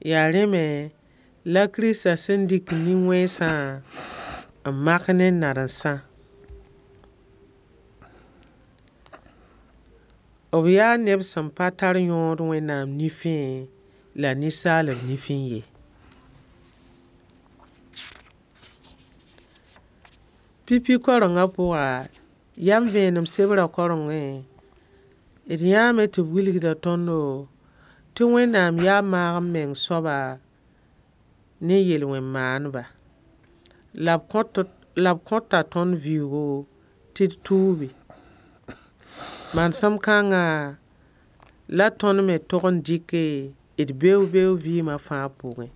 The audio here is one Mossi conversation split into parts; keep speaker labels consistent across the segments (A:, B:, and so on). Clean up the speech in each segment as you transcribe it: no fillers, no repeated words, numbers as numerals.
A: Yaa rẽ me la Kirista sẽn dɩk nin-wẽnsã n mak ne nadensã. B yaa neb sẽn pa tar yõod Wẽnnaam nifẽ la ninsaalb nifẽ ye. Pipi kaorengã pʋga, yam vẽenem sebrã kaorengẽ, d yãame tɩ b wilgda tõndo tɩ Wẽnnaam yaa maag-m-meng soaba ne yel-wẽn-maandba. La b kõta tõnd vɩʋʋgo tɩ d tuubi. Manesem kãnga la tõnd me tog n dɩke d beoog-beoog vɩɩmã fãa pʋgẽ.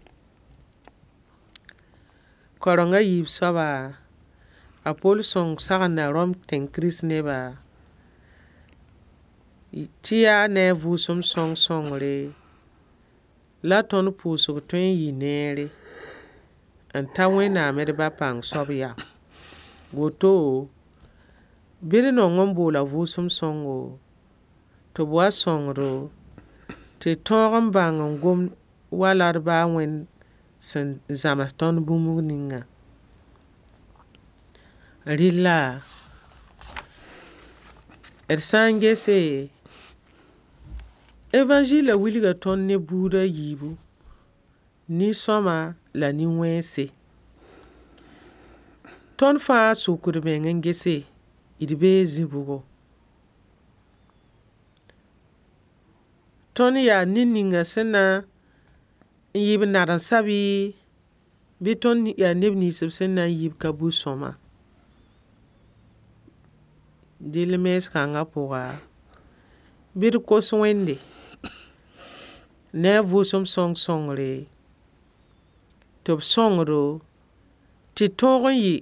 A: Kaoreng a yiib soaba, a Pol sõng sagenda Rom tẽng Kirist-neba tɩ yaa ne a vʋʋsem sõng sõngre la tõnd pʋʋsg tõe n yɩ neere n ta Wẽnnaam d Ba pãng soab yam. Woto, bɩ d nong n boola vʋʋsem sõngo tɩ b wa sõng-do tɩ d tõog n bãng n gom wala d baa Wẽnd sẽn zãms tõnd bũmb ninga. Rɩlla d sã n gese, Evangila wilga tõnd ne buud a yiibu, nin-sõma la nin-wẽnse. Tõnd fãa sʋk d meng n gese, d bee zĩ-bʋgo. Tõnd yaa ned ninga sẽn na n yɩ b nadensã bɩ, bɩ tõnd yaa neb nins b sẽn na n yi b ka bu-sõama. Dɩll mens kãngã pʋga, bɩ d kos Wẽnde ne a vʋʋsem sõng sõngre tɩ b sõng-do tɩ tõog n yɩ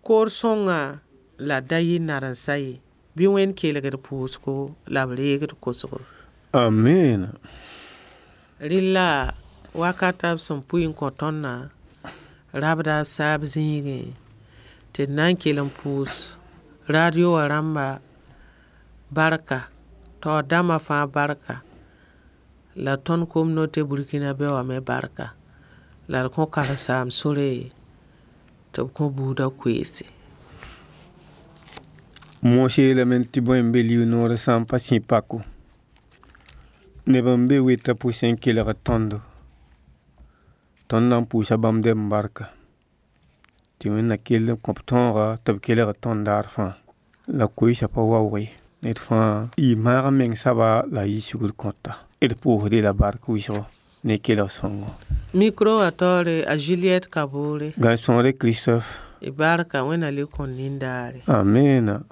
A: koor sõngã la da yɩ nadensã ye. Bɩ Wẽnd kelg d pʋʋsgo la b reeg d kosgo.
B: Amina.
A: Rɩlla wakata b sẽn pʋɩ n kõ tõndã rabda b saab zĩigẽ tɩ d na n kell n pʋʋs radio wã rãmba barka, taoor dãmba fãa barka, la tõnd communauté burkinabe wã me barka, la d kõ karen-saamb sore tɩ b kõ buudã koeese.
B: Moas yeelame tɩ bõe n be liu-noorã sã n pa sĩ pako, neb n be wetã pʋsẽ n kelgd tõndo. Tõnd na n pʋʋsa bãmb dɛm barka tɩ Wẽnd na kell n kõ b tõoga tɩ b kelgd tõnd daar fãa. La koeesã pa waoog ye. Ned fãa yɩ maag n meng soaba la a yɩ sugr kõta. D pʋʋsd-y la bark wɩsgo ne kelg sõngo.
A: Micro wã taoore a Juliette Kabore.
B: Gãn-sõor Christophe.
A: Y barka Wẽnd na le kõ nindaare.
B: Amina.